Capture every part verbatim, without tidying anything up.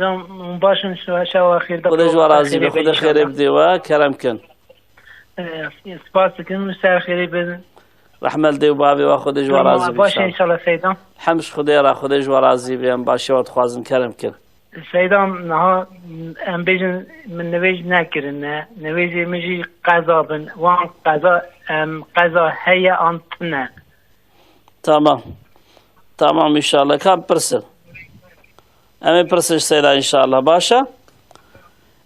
Hocam, hûn baş in, şewa, şewa xêr de. Xwedê ji we razî be, Xwedê xêrê bidê we, kerem kin. Ee, spas dikim, ser xêrê bin. Rehmet dê û bavê we, Xwedê ji we razî be. Baş inşallah. Inşallah Seyda. Hem ji Xwedê re, Xwedê ji we razî be, em başiya we dixwazin, kerem kin. Seyda, niha em bêjin, min nivêj nekirine. Nivêjê min jî qeza bin. Wan qeza, em, qeza heye an tune? Tamam. Tamam, inşallah. Ka em pirsin. Em ê pirsin ji Seyda, inşallah. Baş e?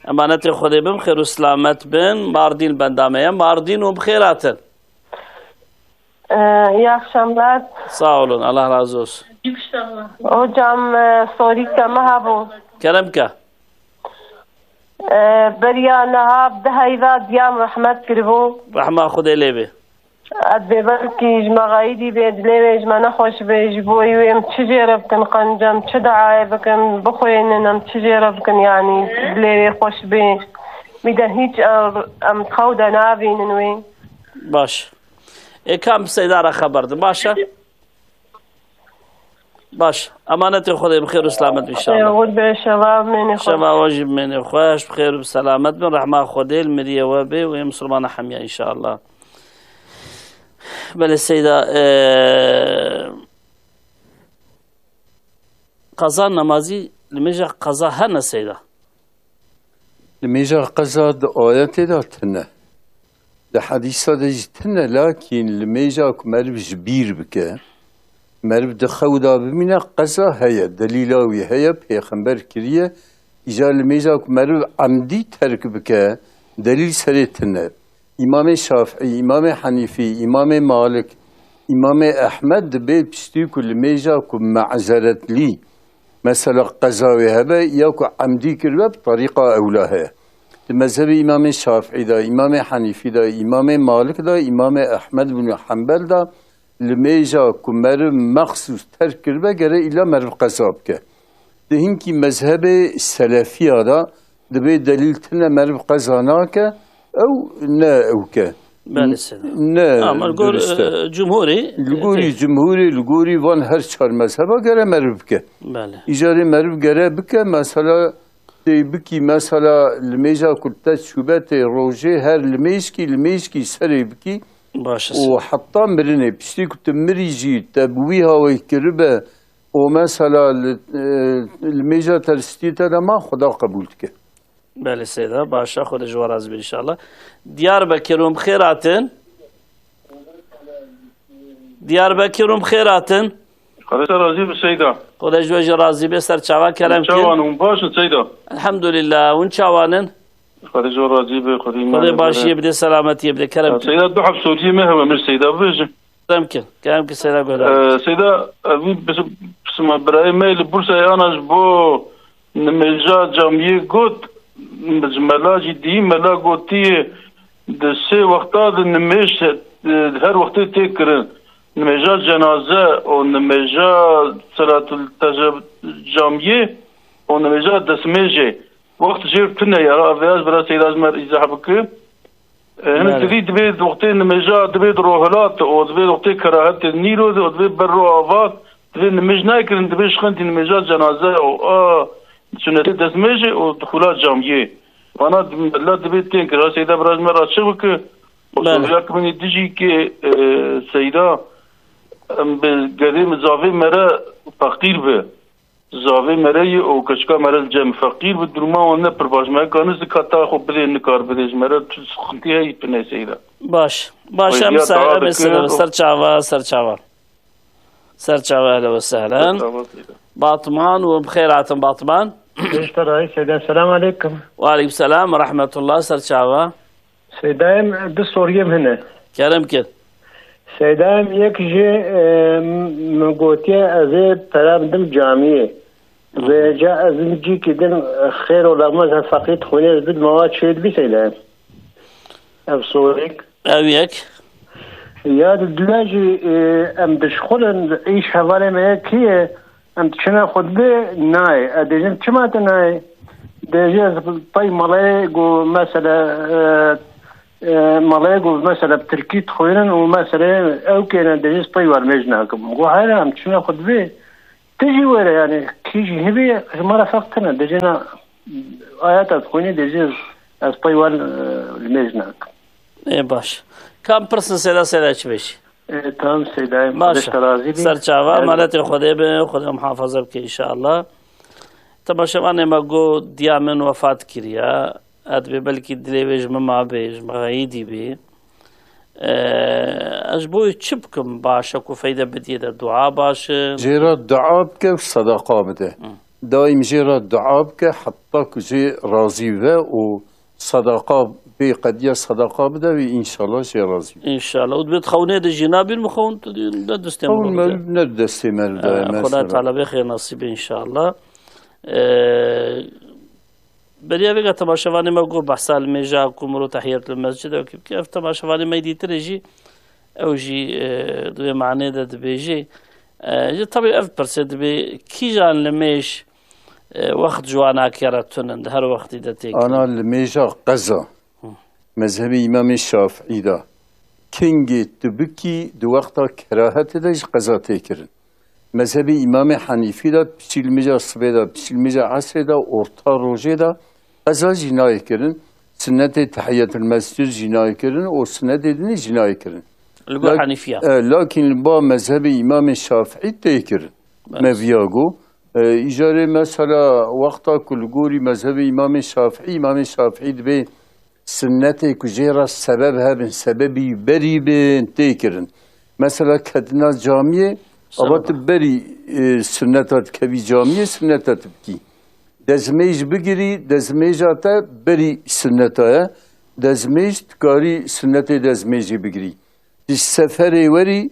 Emanetê Xwedê bin, xêr û selamet bin. Mardîn benda me ye. Mardîn û bi xêr hatin. Ee, iyi akşamlar. Sağ olun, Allah razı olsun. Hocam, e, sorîka me hebû. Kerem ke. Ee, beriya niha bi deheyva diya min rehmet kiribû. Rehma Xwedê lê bê. Ez bêbelkî ji me xeyidî bê, dilê wê ji me nexweş bê, ji bo wê em çi jê re bikin, qenc em çi diayê bikin, bixwînin em çi jê re bikin, yanî dilê wê xweş bê. Wî de hîç em, em xew de navînin wê. Baş. Ê, ka em bi Seyda re xeber din, baş e? Baş. Emanetê Xwedê, bi xêr û selamet bin inşallah. Xwedê be, şeva mênê xweş. Şeva we jî mênê xweş, bi xêr û bi selamet bin. Rehma Xwedê li miriyê we bê û ê misilmana hemiya inşallah. Belê Seyda, e, qeza namazî, limêja qeza hene Seyda? Limêja qeza di ayetê de tune. Di hedîsa de jî tune, lakîn limêja ku meriv ji bîr bike, meriv di xew de bimîne, qeza heye, delîla wî heye, pêxember kiriye. Îcar limêja ku meriv emdî terk bike, delîl serê tune. Îmamê Şafî, Îmamê Henîfî, Îmamê Malik, Îmamê Ehmed dibê piştî ku limêja ku me'zeretlî, mesela qeza wê hebe ya ku emdî kiribe, bi terîqa ewla heye. Di mezhebê Îmamê Şafî de, Îmamê Henîfî de, Îmamê Malik de, Îmamê Ehmed bin Henbel de, limêja ku meriv mexsûs terk kiribe, gere îla meriv qeza bike. Di hinkî mezhebê selefiya de dibê delîl tune, meriv qeza nake, ew ne ew ke. Belê, seyda. Ne. Ama li gor, durist e, e, cumhurî, li gorî e, cumhurî, li gorî van her çar mezheba gere meriv bike. Belê. Îcarê meriv gere bike, mesela tê bikî, mesela limêja ku te çûbe tê rojê, her limêjkî, limêjkî serê bikî. Baş e, û seyda. Heta mirinê, piştî ku tu mirî jî te bi wî hawê kiribe, û mesela li, e, li mêja teristî te de ma Xuda qebûl dike. Belê seyda, baş e, Xwedê ji we razî be inşallah. Diyarbekir hûn bi xêr hatin. Diyarbekir hûn bi xêr hatin. Xwedê te razî be seyda. Xwedê ji we jî razî be, ser çava kerem kin. Çawan hûn baş in seyda? Elhamdulillah, hûn çawan in? Xwedê ji we razî be, Xwedê Xwedê başiyê bide, selametiyê bide, kerem kin. Seyda, du heb soriyê me hebe, min seyda bibêje. Kerem kin, kerem kin, seyda guhdar. Ee, seyda, evî bis-, pisma birayê me li Bursayê ana ji bo nimêja camiyê got, ji mela jî dî, mela gotiye, di sê wexta di nimêj, e, her wextê tê kirin. Nimêja cenaze û nimêja selatul tece-, camiyê û nimêja destmêjê. Wext jêr tune ya, vêya ji bira seyda ji me re îzah bike. E, hinek Belê. Divî divê wextê nimêja divê di rohilat û divê wextê kerahetê nîro de û divê ber ro ava divê nimêj nekirin, divê şixintî nimêja cenaze û a sunetê destmêjê û dixula camiyê. Vana di-, mela divê tên kir. Ha seyda bira ji me re çi bike? Belê. Soruya ki min ê dijî ki, e, seyda, em bi gerê min zavê me re feqîr be. Zavê me re ye û keçika me re li cem feqîr bi, duruma wan ne pir baş. Me ka nizik hata xwe bidê, nikar bidê ji me re, tu sixintî heyî tune seyda. Baş. Baş, em ser, em ê ser, ser çava, ser çava. Ser çava, ehlen ve sehlen. Ser çava seyda. Batman û bi xêr hatin Batman. Seyda, selamu aleykum. Ve aleykum selam ve rahmetullah, ser çava. Seydayê min, du soriyê min hene. Kerem kin. Seydayê min, yek jî, e, min gotiye ez ê pere bidim camiyê. Hı hı. Vêca ez cîkî din, e, xêr û lexmez her feqîr dixwîne ez bidim, awa çê dibî seydayê min? Ev sorêk. Ev yek. Ya di dune jî, e, em dişxulin, îş hevalê me yekî ye. Em diçine xutbê nayê. Ez dêjin çima tu nayê? Dêjê ez pey malê ku mesela, e, e, malê ku mesela bi tirkî dixwînin û mesela ew kêne dêjê ez pey wermêj nakim. Go heyra em diçine xutbê. Tijî were yani, kî jî hebe, ji me re ferq tine. Dê jê na ayeta dixwînî, dê jê ez pey wan, e, li mêj nakim. Ê baş. Kam pirsin Seyda, Seyda çi bêjî? E, tamam Seyda, Baş. Xwedê te razî bî. Ser çava, Evet. Maletê Xwedê be, Xwedê muhafaza bike inşallah. Temaşevanê me got, diya min wefat kiriya. Ez dibê belkî dilê wê ji min mabê, ji min xeyîdî bî. E, ez ji bo wê çi bikim baş e ku feyde bidiyê de dua baş e? Jê re dua bike û sedeqa bide. Hı. Daîm jê re dua bike heta ku jê razî be û sedeqa bê qediya sedeqa bide wê înşallah jê razî be. Înşallah. Û dibê xewnê de jî nabîn mi xewn tu dî ne destê Xewn min me de. Ne destê me de, E, Xwedayê mesela. Teala bê xêr nasîb be înşallah. E, Beriya vêga temaşevanê me got behsa li mêja ku mirov tehiyetul mescid ew kî bike. Ev temaşevanê me dîtirê jî ew jî, e, di wê manê de dibêjê. E, ji tabii ev pirsê dibê kîjan li mêj, e, wext ji wan akere tunin di her wextî de têkin. Ana li mêja qeza. Hı. Mezhebê Îmamê Şafîî de kingê tu bikî di wexta kerahetê de jî qeza tê kirin. Mezhebê Îmamê Henîfî de piçî li mêja sibê de, piçî li mêja esrê de, orta rojê de qeza jî nayê kirin. Sinnetê tehiyetul mescid jî nayê kirin û sinnetê dinê jî nayê kirin. Li gor Lak-, Henîfiya. E, lakin li ba mezhebê Îmamê Şafîî tê kirin. Bes. Me viya got. E, îcarê mesela wexta ku li gorî mezhebê Îmamê Şafîî, Îmamê Şafîî dibê sinnetê ku jê re sebeb hebin, sebebî berî bin, tê kirin. Mesela ketina camiyê, Sebeba. Ava tu berî, e, sinneta dikevî camiyê, sinneta tu bikî. Dezmêj bigirî, dezmêja te berî sinneta ye. Dezmêj, tu karî sinnetê dezmêjê bigirî. Tu ji seferê werî,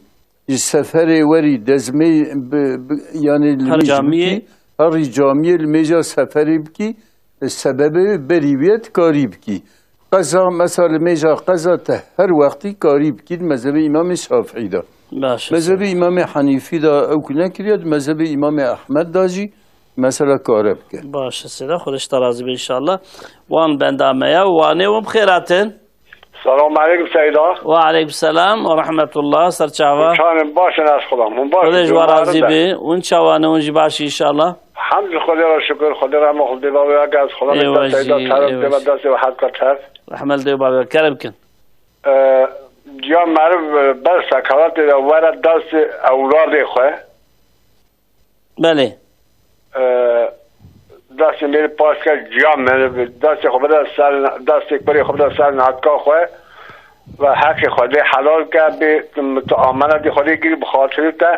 ji seferê werî dezmê-, bi, bi, yanî li Her mêj camiyê bikî, herî camiyê li mêja seferê bikî, e, sebebê berî wê dikarî bikî. Qeza, mesela li mêja qeza te her wextî karî bikî di mezhebê Îmamê Şafîî de. Baş e, Mezhebê seyda. Îmamê Henîfî de ew ku nekiriye, di mezhebê Îmamê Ehmed de jî mesela kare bike. Baş e, seyda, Xwedê ji te razî be înşallah. Wan benda me ye, Wanê û bi xêr hatin. Selam aleykum Seyda. Ve aleykum selam ve rahmetullah. Ser çava. Çanim baş in ez xulam. Hûn baş Xwedê ji in, wan razî be. Hûn çawa ne, hûn jî baş in înşallah. Hemd Xwedê re şukir, Xwedê rehma Xwedê bavê ya gez xulam Ê da wajî, Seyda ê teref wajî. Dema destê we hez ka terf. Rehmel dê bavê kerem kin. Ee, ciya meriv, e, ber sekaratê de were destê ewladê xwe. Belê. E, destê mêrê paş ke ciya meriv, destê xwe bide ser, destê kurê xwe bide ser natka xwe ve heqê xwe lê helal ke, bê tu, tu amenetê xwe lê girî bi xatirê te,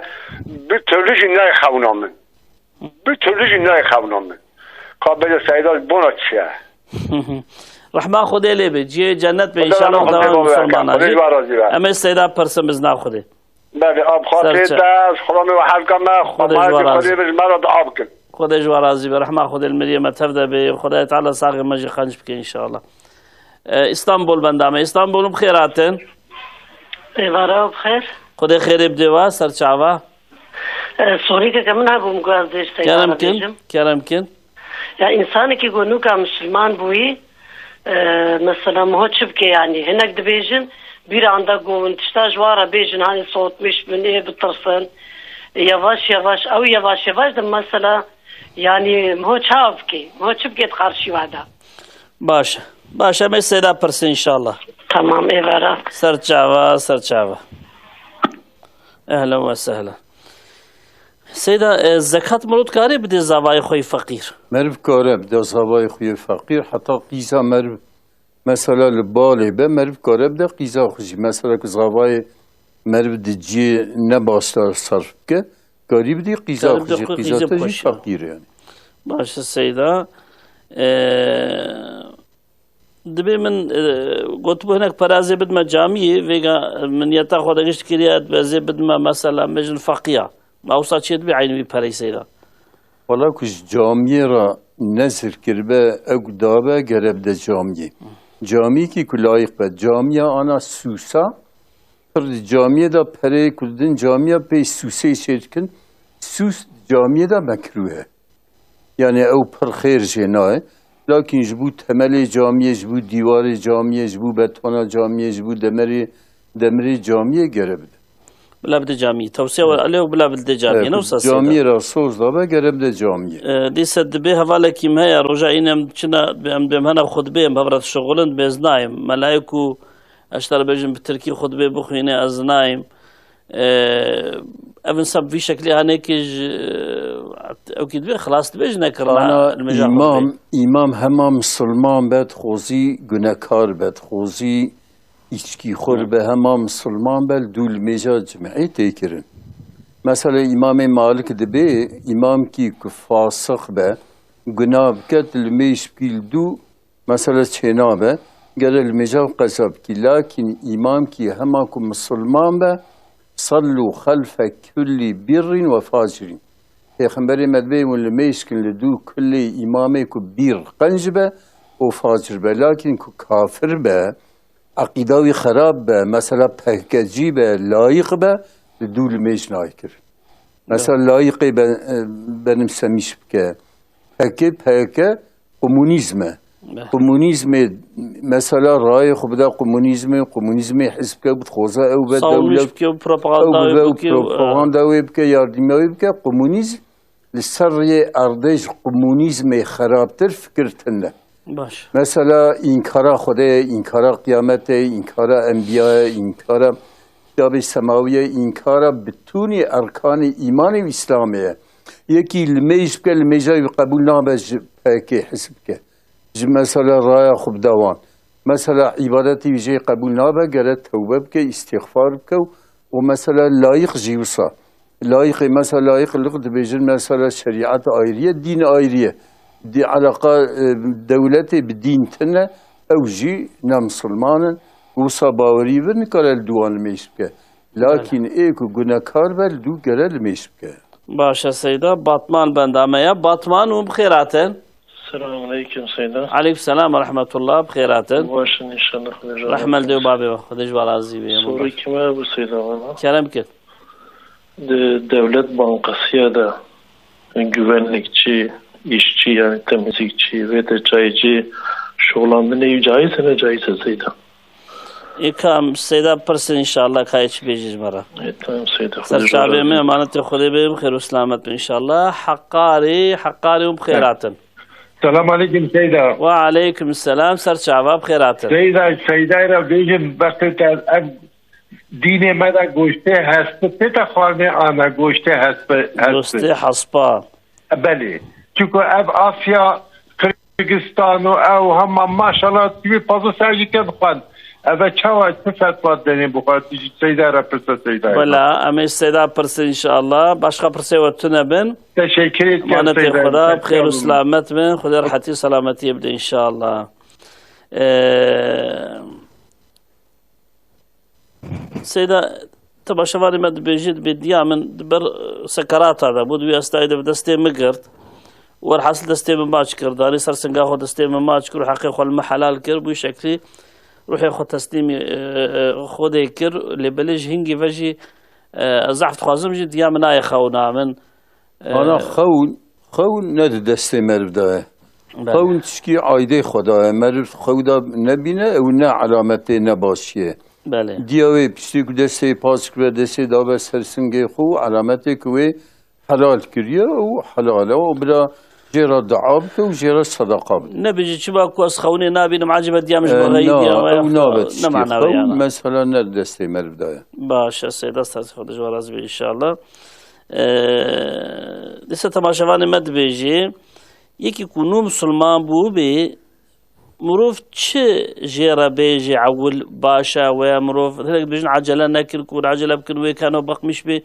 bi türlü jî nayê xewna min. Bi türlü jî nayê xewna min. Ka bêje Seyda ji bona çi ye? Rehma Xwedê lê be, cihê cennet be Xwedê înşallah rehma dewan Xwedê musulmana be. Xwedê jî. Ji we razî be. Em ê Seyda pirsin bizna Xwedê. Belê, ab xatirê Serçe. Te, ez xulamê we hevka me, Xwedê ji we xwemajî razî. Xwedê bi ji me re dua bikin. Xwedê ji we razî be. Rehma Xwedê li miriyê me tev de be. Xwedayê Teala saxê me jî qenc bike înşallah. E, Îstanbul benda me. Îstanbul bi xêr hatin. Êvara bi xêr. Xwedê xêrê bidê we, ser çava. E, sorîkeke min hebû, min got ez dê ji te Kerem re kin, bêjim. Kerem kin. Ya, însanekî ku nûka misilman bûyî, e, mesela, miho çi bike, yanî? Hinek dibêjin, bîra anda ku hûn tişta ji wan re bêjin, hanî soğutmuş bin, ê bitirsin. Yavaş yavaş, ew yavaş yavaş de mesela, yanî, miho çawa bike? Miho çi bike di qarşî we de? Baş e. Baş e, em ê Seyda pirsin înşallah. Tamam, êvara. Ser çava, ser çava. Ehlen ve sehlen. Seyda, e, zekat mirov dikare bide zavayê xwe yê feqîr? Meriv kare bide zavayê xwe yê feqîr, heta qîza meriv, mesela li balê be, meriv kare bide qîza xwe jî. Mesela ku zavayê meriv di cihê ne baş de sarf bike, karî bidî qîza Karî xwe bide jî, xwe qîza qîza te jî xweş ya. Feqîr e yani. Baş e Seyda. E, Dibê min, e, gotibû hinek pere ez ê bidime camiyê, vêga min niyeta xwe de gişt kiriye, ez ê bidime mesela, bêjin feqiya. Ma wisa çê dibê eynî wî pereyê Seyda? Wala ku ji camiyê re nezir kiribe, ew ku dabe, gere bide camiyê. Camiyekî ku layîq be. Camiya ana sûsa, pir di camiyê de pereyê ku didin camiya pê sûsê çê dikin. Sûs di camiyê de mekrûh e. Yani ew pir xêr jê nayê. Lakin ji bo temelê camiyê, ji bo dîwarê camiyê, ji bo betona camiyê, ji bo demerê, demirê camiyê gere bide. Bila bide camiyê. Tewsiya we Evet. Elê û bila bide camiyê. Evet, Ne wisa Seyda? Camiyê ra soz dabe, gere bide camiyê. E, dîse dibê hevalekî me heye, roja înê em çina, em dibêm hena xutbê, em hev re dişuxulin, dibê ez nayêm. Melayê ku ez ji te re bêjim bi tirkî xutbê bixwîne, ez nayêm. E, ev insan bi vî şeklî hanekê ji, ew kî dibê, xilas dibê ji nekirina Ana limêja xutbê. Îmam, îmam hema misilman be, dixwazî gunekar be, dixwazî îçkîxwir Hı. be, hema misilman be, li dû limêja cim'ê tê kirin. Mesela Îmamê Malik dibê, îmamkî ku fasiq be, guna bike, tu limêj bikî li dû, mesela çênabe, gere limêja qeza bikî. Lakîn îmamkî hema ku misilman be, "Sallu xelfe kullî birrin ve facirîn." Pêxemberê me dibê hûn limêj kin li dû kullê îmamê ku bîr qenc be û facir be. Lakîn ku kafir be, eqîda wî xerab be, mesela P K K'cî be, layîq be, li dû limêj nayê kirin. Mesela layîqê be, e, benimsemiş bike. P K K, P K K komunîzm e. Be. Komunîzmê, mesela rayê xwe bide komunîzmê, komunîzmê hizb ke, bixwaze ew be Savunmuş dewlet, bike, ew propaganda bibe wê û bike, e. propaganda wê bike, yardîmiya wê bike. Komunîzm li ser rêyê erdê ji komunîzmê xerabtir fikir tune. Baş. Mesela înkara Xwedê ye, înkara qiyametê ye, înkara enbiya ye, înkara kitabê semawî ye, înkara bitûnî erkanê îmanê û Îslamê ye. Yekî limêj bike, limêja wî qebûl nabe ji P K K hizb bike. Ji mesela raya xwe bide wan. Mesela îbadetê wî jê qebûl nabe, gere tewbe bike, îstîxfar bike û, û mesela layîq jî wisa. Layîqê, mesela layîq li dibêjin mesela şerîet ayrî ye, dîn ayrî ye. Dî eleqa, e, dewletê bi dîn tune, ew jî ne misilman in, wisa bawerî vir nikare li dû wan limêj bike. Lakîn ê ku gunekar be, li dû gere limêj bike. Baş e Seyda, Batman benda me ya. Batman hûn bi xêr hatin. Selamun aleyküm Seyda. Aleyküm selam ve rahmetullah, bi xêr hatin. Baş in inşallah, Xwedê ji we razî be. Rehme li dê û babê we, Xwedê ji we razî be. Sorê kî me bû Seyda, bana. Kerem kir. Di Dewlet Bankasıya de güvenlikçi, işçi, yani temizlikçi ve de çaycı şoxlandinê wî caiz e, ne caiz e Seyda? Ê ka em Seyda pirsin inşallah, ka yê çi bêjî ji me re. Ê, tamam Seyda, Xwedê Ser çavê me, razî. Emanetê Xwedê bê, bi xêr û selamet bin inşallah. Heqarî, Heqarî hûn bi xêr hatin. Selam aleyküm Seyda. Ve aleyküm selam, ser çava bi xêr hatin. Seyda, Seydayê re bêjin, wextê te ev dînê me de goştê hesp tê te xwarinê, ana goştê hesp, hesp. Goştê hespa. Belê. Çunku ev Asya, Kırgızstan û ew hema maşallah tu wê pazdeh saet jî ke bixwend. Ev e çawa, çi fetwa denê bixwe? Tu jî Seyda re pirse, Seyda re. Wela, em ê Seyda pirsin inşallah. Başka pirsê we tune bin. Teşekkür ederim Emanetê Seyda. Xweda, bi xêr û selamet bin. Xwedê rehetî û selametiyê bide inşallah. Ee, Seyda, temaşevanê me dibêjî, dibê diya min di ber, e, sekerata de bû, di wî estayê de bi destê min girt. Werhasil destê min maç kir, danî ser singa xwe, destê min maç kir û heqê xwe li min helal kir. Bi wî şeklî ruhê xwe teslîmî, e, e, Xwedê kir. Lê belê ji hingî ve jî, e, ez zehf dixwazim jî diya min nayê xewna min. Ana Ee, xewn, xewn ne di destê meriv de ye. Belê. Xewn tişkî aydê xwe de ye. Meriv xew de nebîne, ew ne elametê nebaşiyê. Belê. Diya wê piştî ku destê paç kiriye, destê dabe ser singê xwe û elametê ku wê helal kiriye û helal e. Û bila jê re dua bike û jê re sedeqa bike. Nebêje çima ku ez xewnê nabînim, ecebe diya min ji Ee, min re yî na, diya me ew ya nabe ne tişkî. Mana wê Xewn yana. Mesela ne di destê meriv de ye. Baş e, Seyda, ser xwe de ji we razî be inşallah. Ee, dîsa temaşevanê me dibêjê, yekî ku nû misilman bû bê, mirov çi jê re bêjê ewil baş e, wê mirov hinek dibêjin ecele nekir, ku hûn ecele bikin, wê keno bexmîş bê,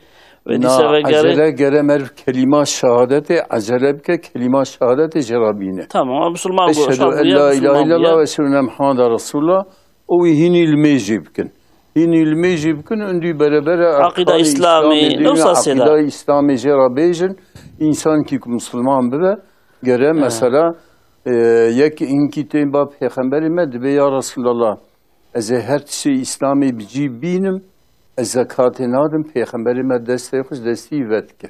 wê dîsa Na, vegere. Ecele gere meriv kelîma şehadetê, ecele bike, kelîma şehadetê jê re bîne. Tamam, ama misilman got, Eşhedü şahid en bûye, la misilman ilahe illallah bûye. Ve eşhedü enne Muhammeden Resulullah. Û wî hînî limêjê bikin. Hînî limêjê bikin, û dî berebere Aqîda erkanê Îslamê, Îslamê, ne wisa Seyda? Aqîda Îslamê jê re bêjin, însankî ku misilman bibe, gere He. mesela, e, yek hinkî tên ba pêxemberê me dibê, ya Resulallah, ez ê her tiştê Îslamê bi cî bînim, ez zekatê nadim, pêxemberê me destê xwe ji destî vedike.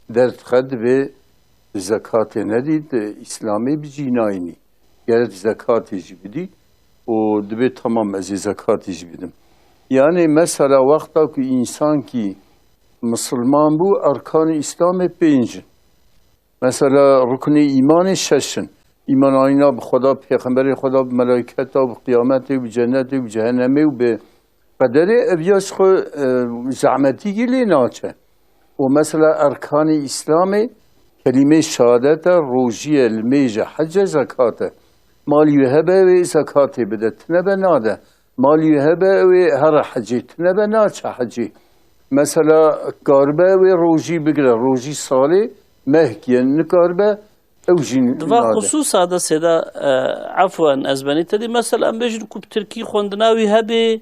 Derdixe dibê tu zekatê nedî, tu Îslamê bi cî nayînî. Gerek zekatê jî bidî û dibê tamam ez ê zekatê jî bidim. Yani mesela wexta ku însankî misilman bû, erkanê Îslamê pênc in. Mesela ruknê îmanê şeş in. Îman anîna bi Xweda, bi Pêxemberê Xweda, bi melayketa, bi qiyametê, bi cenetê, bi cehennemê û bi qederê, ev ya ji xwe, e, zehmetîkî lê naçe. Û mesela erkanê Îslamê kelîmê şehadet e, rojî ye, limêj e, hec e, zekat e. Malî wê hebe wê zekatê bide, tine be nade. Malî wê hebe wê here hecê, tine be naçe hecê. Mesela karibe wê rojî bigire, rojî salê mehkî ye, nikaribe ew jî Di va nade. Xusûsa de sêda, e, efwen ez benî te dî, mesela em bêjin ku bi tirkî xwendina wî hebe,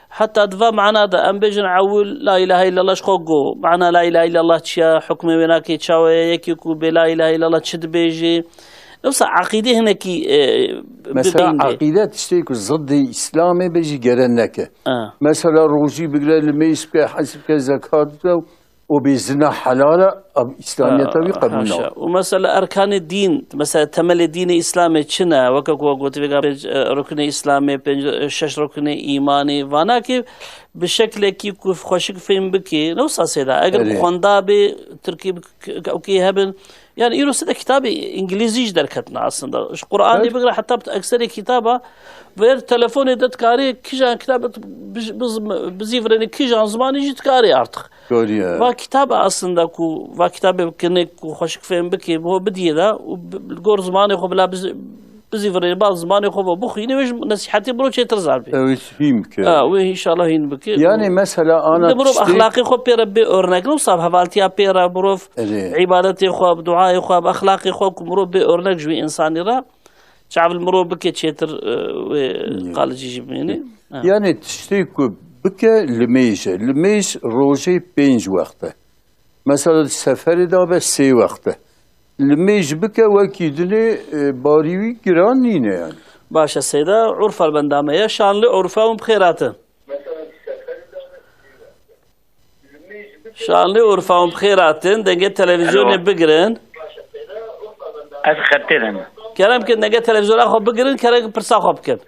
heta di va mana de em bêjin ewil la ilahe illallah ji xwe go. Mana la ilahe illallah çi ye? Hukmê wê nake çawa ye? Yekê ku bê la ilahe illallah çi dibêje? Yoksa aqîdê hinekî, e, Mesela bibîn bê. Aqîde tiştê ku ziddê Îslamê be jî gere neke. Ha. Mesela rojî bigire, limêj bike, hec bike, zekat bide û bê zina helal e, ev Îslamiyeta wî Ha, qebûl haşa. Nake. Û mesela erkanê dîn, mesela temelê dînê Îslamê çi ne? Weke ku we gotî vêga pênc, e, ruknê Îslamê, pênc, e, şeş ruknê îmanê, vanakê bi şeklekî ku xweşik fêm bikê, ne wisa sêda. Eger Erê. Xwenda bê, tirkî bi k-, k-, okê hebin, Yani îro side kitabê îngilîzî jî derketin aslında. Ji Qur'anê Evet. Bigire heta bi ekserê kitaba, ver telefonê de dikarî kijan kitab biz-, biz-, bizîvirênî kijan zimanî jî dikarî artık. Doğru ya. Va kitabê aslında ku, va kitabê kinik ku xweşik fêm bikê, bo bidiyê de û bi-, li gor zimanê xwe bila biz-, bizîvirênî, ba zimanê xwe ve bixwînî, wê ji nesîhetê biro çêtir zar bê. Ew hîn bike. Ha, wê inşallah hîn bike. Yani mesela ana Li mirov tiştê exlaqê xwe pê re bê örnek, ne wisa hevaltiya pê re mirov Erê. Îbadetê xwe, bi duayê xwe, bi exlaqê xwe ku mirov bê örnek ji wî însanî re, çav li mirov bike çêtir, e, wê Yê. Qalicî jî bimînî. Ha. Yani tiştê ku bike limêj e. Limêj rojê pênc wext e. Mesela di seferê de be sê wext e. Limêj bike wekî dinê, e, barî wî giran nîne yani. Baş e Seyda, Urfa li benda me ye. Şanlı Urfa hûn bi xêr hatin. Şanlı Urfa hûn bi xêr hatin. Dengê televizyonê Alo. Bigirin. Ez xetê de me. Kerem kin dengê televizyona xwe bigirin, kerem kin pirsa xwe bikin.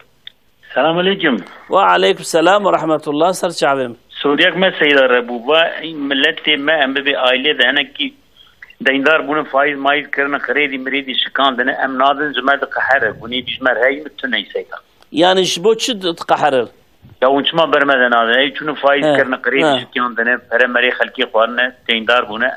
Selam aleyküm. Ve aleyküm selam ve rahmetullah. Ser çavê min. Soriyek me Seyda re bû. Va milletê me em bibê ailê de hinekî deyndar bûne, faiz maiz kirine, xirêdî mirêdî şikandine. Em nadin ji me diqehere. Gunê dî ji me re heyî mi tune yî Seyda. Yani ji bo çi di-, diqeherin? Ya hûn çima ber me de nadin? Ey çûne faiz He, kirine, qirêdî he. Şikiyandine, pere merê xelkê xwarine, teyndar bûne.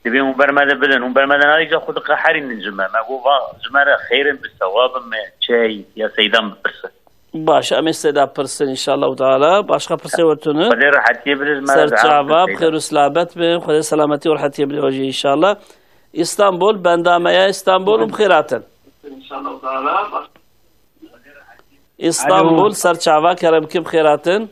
Dibê hûn ber me de bidin. Hûn ber me de nadin, îca xwe diqeherînin ji me. Me got, va, ji me re xêr in, bi sewab in, me çi heyî, ya Seyda min bipirse. Baş, em ê Seyda pirsin, inşallah teala. Başka pirsê we tune? Xwedê rehetiyê bide ji me re. Ser çava, bi xêr û selamet bin. Xwedê selametî û rehetiyê bide we jî, inşallah. İstanbul, benda me ya İstanbul, hûn bi xêr hatin. İstanbul, Alo. Ser çava, kerem kin bi xêr hatin.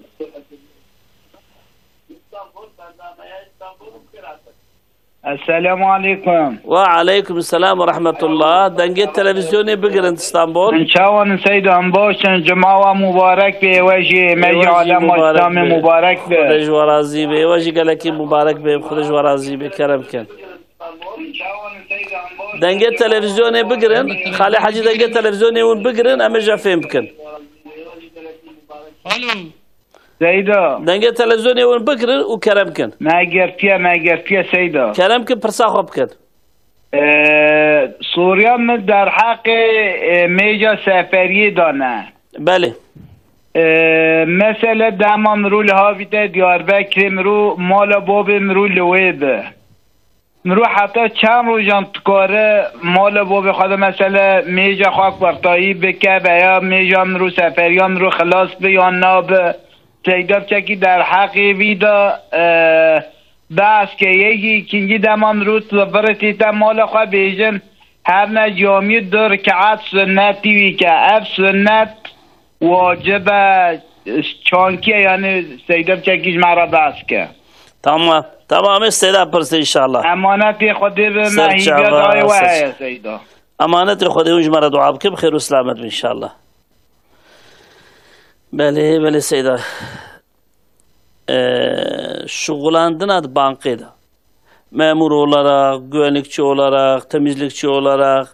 Esselamu aleykum. Ve aleykum selam ve rahmetullah. Dengê televizyonê bigirin İstanbul. Min çawan Seyda, em baş in, cuma we mubarek be, we jî, me jî alema İslamê mubarek be. Xwedê ji we razî be. We jî gelekî mubarek be. Xwedê ji we razî be. Kerem kin. Dengê televizyonê bigirin. Xalê Hecî dengê televizyonê hûn bigirin, em ê jî fêm bikin. Alo. Seyda. Dengê televizyonê hûn bigirin û kerem kin. Me girtiye, me girtiye Seyda. Kerem kin pirsa xwe bikin. Ee, Soruya min derheqê, e, mêja seferiyê de ne. Belê. Ee, mesele dema mirû li havî te Diyarbekirê mirû mala bavê mirû li wê bi. Mirû heta çend rojan dikare mala bavê xwe de, mesele mêja xwe kurtayî bike, veya mêja mirû seferiya mirû xilas bi yan nabi? Seyda biçekî derheqê vî de, e, behs ke yê jî îkincî dema mirû li virê tête mala xwe bêjin, her ne camiyê du rikeat sunnetî wî ke ev sunnet wacib e, çankî ye, yani Seyda biçekî ji me re behs ke. Tamam. Tamam, ê Seyda pirsin inşallah. Emanetê Xwedê bi me. Ser hîviya çava, dayê we ser heye Seyda. Emanetê Xwedê hûn ji me re dua bikin, bi xêr û selamet bin inşallah. Belê, belê Seyda. Ee, şuxulandina di bankê de. Memur olarak, güvenlikçi olarak, temizlikçi olarak,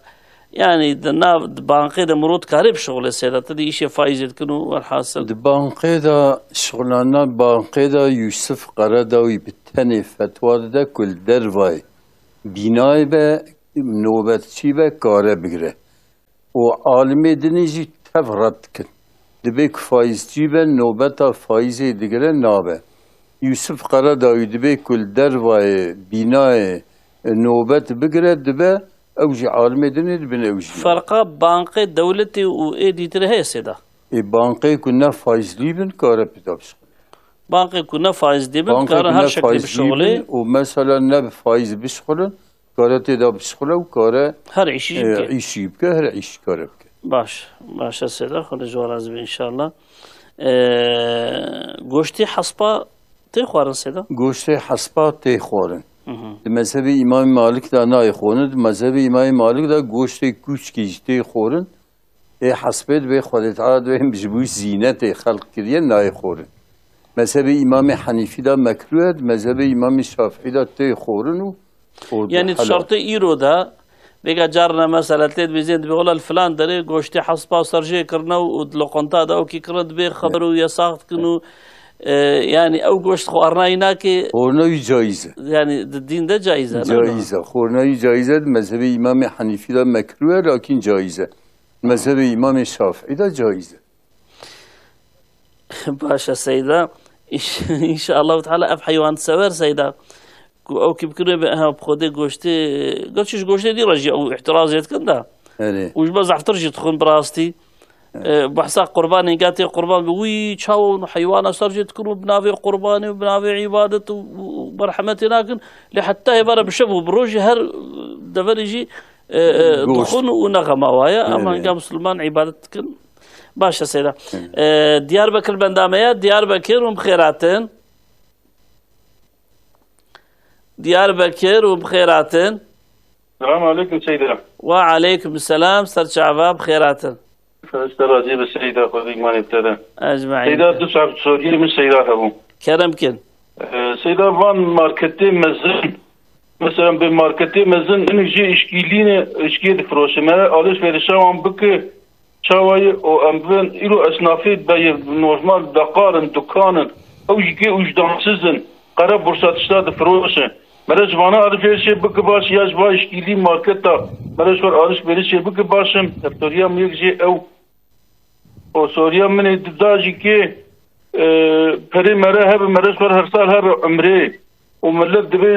Yani di nav, di bankê de mirov dikarê bişixulê seyda. Tu dî îşê faîzê dikin û welhasil. Di bankê de şixulana bankê de Yûsif Qeredawî bi tenê fetwa dide ku li dervayê bînayê be, nobetçî be, kare bigire. Û alimê dinê jî tev red dikin. Dibê ku faîzcî be, nobeta faîzê digire nabe. Yûsif Qeredawî dibê ku li dervayê bînayê nobet bigire dibe, ew jî alimê dinê dibin ew jî nabe. Ferqa bankê dewletê û ê dîtirê heye seyda? Ê bankê ku ne faîzlî bin kare pêda bişixulin. Bankê ku ne faîzlî bin, karin her şeklî bişixulê. Û mesela ne bi faîz bişixulin, kare tê de bişixule û kare, her îşî jî e, bike. Îşî bike, her îşî kare bike. Baş, baş e seyda, Xwedê ji we razî be înşallah. E, goştê hespa tê xwarin seyda? Goştê hespa tê xwarin. Hı hı. Di mezhebê Îmamê Malik de nayê xwarin, di mezhebê Îmamê Malik de goştê kûçkî jî tê xwarin. Ê hespê dibê Xwedê Teala dibê ji bo zînetê xelq kiriye nayê xwarin. Mezhebê Îmamê Henîfî de mekrûh e, di mezhebê Îmamê Şafîî de tê xwarin û, û Yani di helal. Şertê îro de, vêga carna mesela tê dibêjin dibê wela li filan derê goştê hespa serjê kirine û di loqanta de ewkî kirine dibê xeber û yasax dikin û, e, yani ew goşt xwarina wî nake. Xwarina wî caiz e. Yani di dîn de caiz e, ne? Caiz e. Xwarina wî caiz e, di mezhebê Îmamê Henîfî de mekrûh e, lakin caiz e. Mezhebê Îmamê Şafîî de caiz e. Baş e seyda. Înş-, înşallah Teala ev heywansever seyda. Ku ew kî bikirê be, ha, bi xwedê goştê, gerçi ji goştê dî re jî ew îtirazê dikin de. Erê. Û ji me zehftir jî dixwin bi rastî. E, behsa qurbanê, ga tê qurban bi wî çawa heywana ser jê dikin û bi navê qurbanê û bi navê îbadet û, û, û merhemetê nakin. Lê heta hêvara bi şev û bi rojî her deverê jî, e, e, dixwin û ne xema wa ye. Ama hinga Misilman îbadet dikin. Baş e seyda. E, Diyarbekir bendame ye. Diyarbekir hûn bi xêr hatin. Diyarbekir hûn bi xêr hatin. Selamun aleyküm Seyda. Ve aleyküm selam, ser çava bi xêr hatin. Ser razî be Seyda, Xwedê îmanê te de. Ecmaîn. Seyda, du saet soriyê min Seyda hebû. Kerem kin. Ee, Seyda, van marketê mezin, mesela bi marketê mezin, in jî işkîlîne, işkî difiroşe. Me alişverişa wan bike, çawa ye? O em bin, îro esnafê be ye, normal, beqar in, dukan in. Ew jî kê ûjdansiz in. Qere borsa tişta difiroşe. Mere ji vana alişverişê bike baş ya ji va îşkîlî marketa. Mere ji xwe alişverişê bike baş in. Ev soruya min yek jê ew. O soruya min ê di da jî kê, e, perê mere hebe, mere ji xwe her sal hebe umrê. Û millet divê,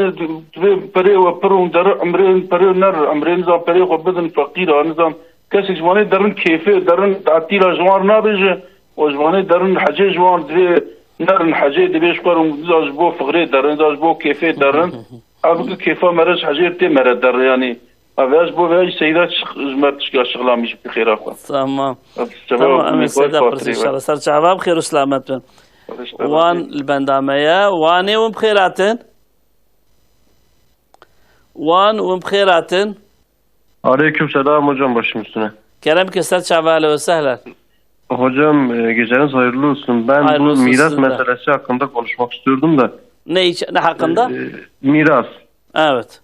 divê perê we pir û deri umrê, perê ner umrê, nizan perê xwe bidin feqîra, nizan kesek ji wanê derin kêfê, derin tatîla ji wan nabêje. Û ji wanê derin hecê ji wan divê nerin hecê, divê ji xwe rû da ji bo fixrê derin, da ji bo kêfê derin. Ev ki kêfa mere ji hecê tê mere der, yanî. Ev ya ji bo vê jî Seyda şix-, ji me tişka şixlamî ji xêra xwe. Tamam. Ev cevab Tamam, min Emîn xwe Seyda fatirê pirsî we. Înşallah. Ser çava bi xêr û selamet bin. Wan li benda me ye. Wanê hûn bi xêr hatin. Wan hûn bi xêr hatin. Aleyküm selam hocam, başım üstüne. Kerem ke ser çava, ehlen ve sehlen. Hocam, e, geceniz hayırlı olsun. Ben Hayırlı bu olsun miras sizin de. meselesi hakkında konuşmak istiyordum da. Ne iç-, ne hakkında? E, miras. Evet.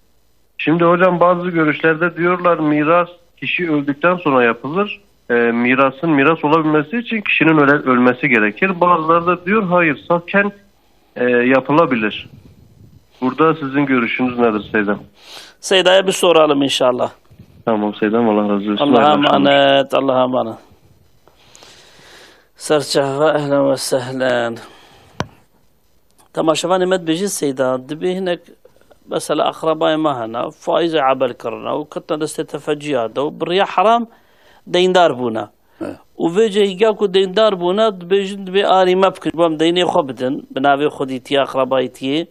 Şimdi hocam bazı görüşlerde diyorlar miras kişi öldükten sonra yapılır. E, mirasın miras olabilmesi için kişinin öle-, ölmesi gerekir. Bazıları da diyor hayır, safken e, yapılabilir. Burada sizin görüşünüz nedir Seydam? Seyda'ya bir soralım inşallah. Tamam Seydam, Allah razı olsun. Allah'a Hayırlı akşamlar. emanet, Allah'a emanet. Serçava, ehlen ve sehlen. Temaşevanê me dibêjin Seyda, dibê hinek mesela akrabayê me hene, faîzê ebel kirine û ketine destê tefeciya de û bi riya heram deyndar bûne. He. Û vê cihê ga ku deyndar bûne, dibêjin, dibê alî me bikin, ji bo em deynê xwe bidin, bi navê xwedîtiyê, akrabayîtiyê.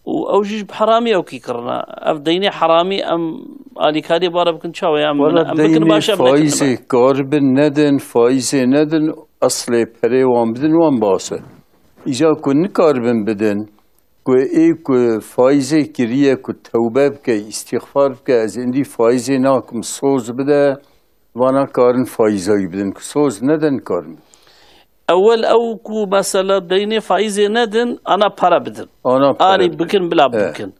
Û ew jî ji bi heramî ewkî kirine. Ev deynê heramî em alîkariyê bare bikin, çawa ye? Em, Wela em bikin deynê baş e, em nekin faîzê dibe. Karibin nedin, faîzê nedin, eslê perê wan bidin, wan baş e. Îca ku nikaribin bidin, ku ê ku faîzê kiriye, ku tewbe bike, îstîxfar bike, ez êndî faîzê nakim, soz bide, vana karin faîza wî bidin, ku soz nede nikarin. Ewel ew ku mesela deynê faîzê nedin, ana para bidin. Ana para Anî bidin. bikin, bila He. bikin.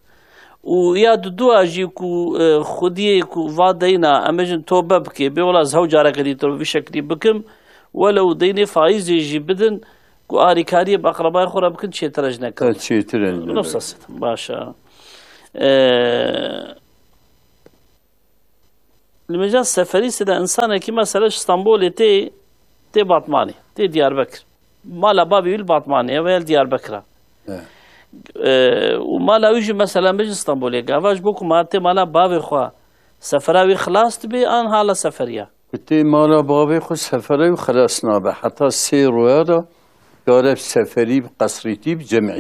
û ya dudua jî ku, e, xwediyê ku va deyna, em bêjin tobe bike, bê wela ez hew careke dî tobe vî şeklî bikim, welew deynê faîzê jî bidin, ku arîkariyê bi eqrebayê xwe re bikin, çêtir e ji nekin. Çêtir e ji nekin. Nefsa sitim, baş e. E, li mêja seferî side însanekî mesela ji Stenbolê tê, tê Batmanê, tê Diyarbekir. Mala bavê wî li Batmanê ye veya li Diyarbekir e. E, û mala wî jî mesela me ji Stenbolê. Gava ji bo ku ma tê mala bavê xwe sefera wî xilas dibe an hala seferiya? Ku tê mala bavê xwe sefera wî xilas nabe. Heta sê roya da kare seferî bi qesrîtî bi cemî